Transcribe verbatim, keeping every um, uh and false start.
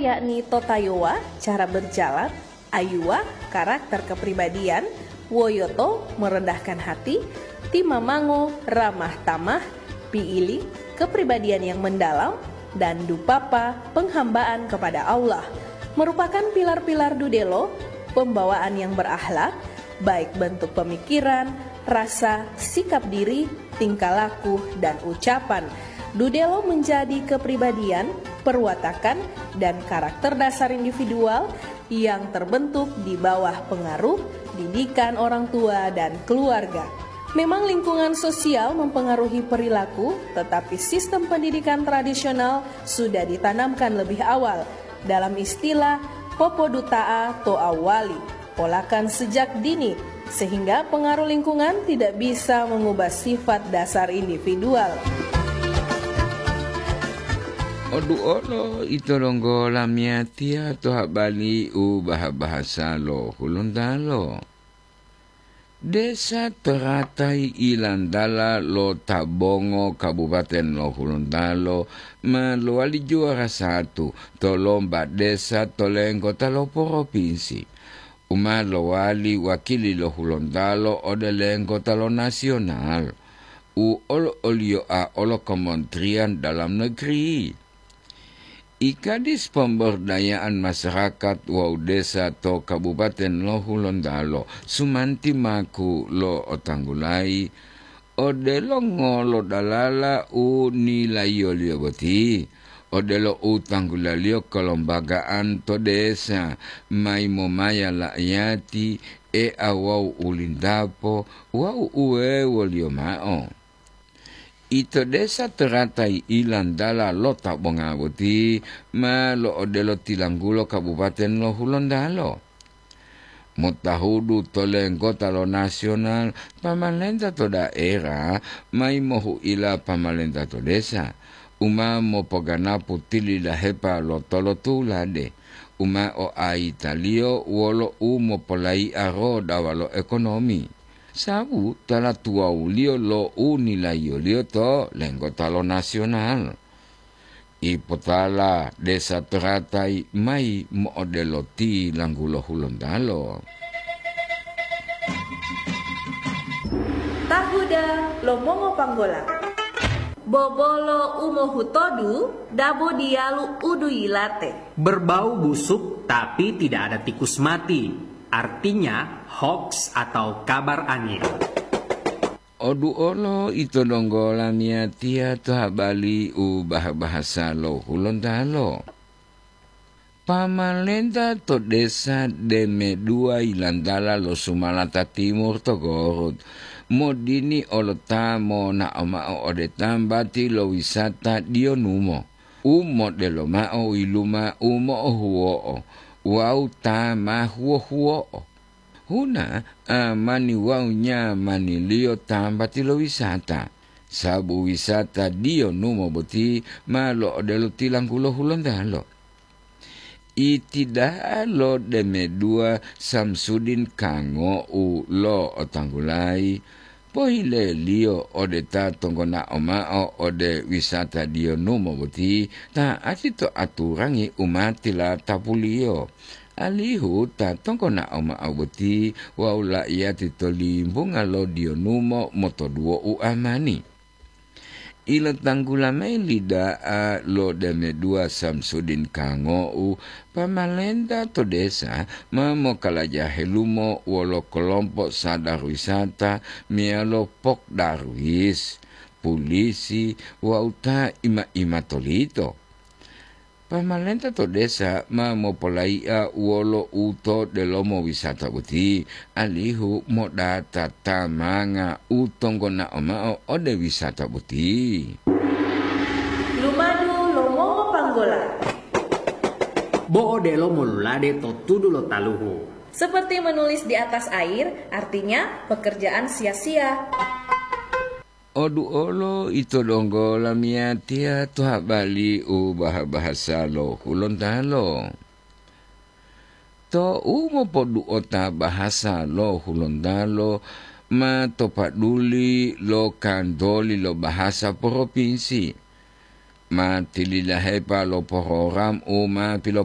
yakni totayowa, cara berjalan, ayuwa, karakter kepribadian, woyoto, merendahkan hati, timamango, ramah tamah, piili, kepribadian yang mendalam, dan dupapa, penghambaan kepada Allah, merupakan pilar-pilar dudelo, pembawaan yang berakhlak, baik bentuk pemikiran, rasa, sikap diri, tingkah laku, dan ucapan. Dudelo menjadi kepribadian, perwatakan, dan karakter dasar individual yang terbentuk di bawah pengaruh didikan orang tua dan keluarga. Memang lingkungan sosial mempengaruhi perilaku, tetapi sistem pendidikan tradisional sudah ditanamkan lebih awal. Dalam istilah, popoduta'a to awali, polakan sejak dini, sehingga pengaruh lingkungan tidak bisa mengubah sifat dasar individual. Oduolo ito donggo lamiyatiya to habali u baha-bahasa lo Hulontalo. Desa Teratai Ilandala lo Tabongo, Kabupaten lo Hulontalo, ma lowali juwara satu to lomba desa to lenggota lo poropinsi, u ma lowali wakili lo Hulontalo ode lenggota lo nasional, u olo-oliyoa olo Kementerian Dalam Negeri. I Kadis Pemberdayaan Masyarakat wawu Desa to Kabupaten lo Hulontalo, Sumanti Maku, lo'otanggulayi, odelo ngolo dalala u nilayiyoliyo boti, odelo u tanggulaliyo kelembagaan to desa, mayi momaya la'iyati, e'a wawu ulindapo wawu uwewoliyo mao. Ito desa Teratai Ilandala lo Tabonga boti ma lo'odelo tilanggulo Kabupaten lo Hulontalo. Motahudu to lenggota lo nasional, pamalenta to daerah mayi mohu'ila pamalenta to desa, u ma mopoganapu tilidahepa lo tolotulade, u ma oaitaliyo wolo u mopolai'a rodawa lo ekonomi. Sabu tala tuwawuliyo lo u nilayiyoliyo to lenggota lo nasional. Ipotala desa Teratai mayi mo'odelo tilanggulo Hulontalo. Tahuda lo mongopanggola. Bobolo u mohutodu dabo diyalu u duyilate. Berbau busuk tapi tidak ada tikus mati. Artinya hoax atau kabar angin. Oduolo ito donggo lamiyatiya to habali u baha-bahasa lo Hulontalo. Pamalenta to desa Deme dua Ilantala lo Sumalata Timur to Gorut, modini olo ta monao mao ode tambati lo wisata Diyonumo, u modelo mao yiluma u mo'ohuwo'o wawu ta ma huwo-huwo'o. Huna amani wawu nyamaniliyo tambati lo wisata, sabu wisata Diyonumo boti ma lo'odelo tilanggulo Hulontalo. Iti da'a lo Deme dua Samsudin Kango'u lo'otanggulayi, pohileliyo ode ta tonggonao mao ode wisata Diyonumo boti ta'ati to aturangi u ma tilatapuliyo, alihu ta tonggonao mao boti wawu la'iyati to limbunga lo Diyonumo motoduwo u amani. Ilotanggula mayi li da'a lo Deme dua Samsudin Kango'u, pamalenta to desa ma mokalaja helumo wolo kolompo sadar wisata meyalo Pok Darwis, pulisi wawu ta ima-ima tolito. Pamalenta to desa ma mopolai'a wolo u to delomo wisata boti, alihu modata tamanga u tonggonao mao ode wisata boti. Lumadu lo mongopanggola. Bo'o delomo lulade to tudu lo taluhu. Seperti menulis di atas air, artinya pekerjaan sia-sia. Oduolo ito donggo lamiyatiya to habali u baha-bahasa lo Hulontalo. To u mopodu'ota bahasa lo Hulontalo ma to paduli lo kantoli lo bahasa poropinsi. Ma tilidahepa lo porogram u ma pilo-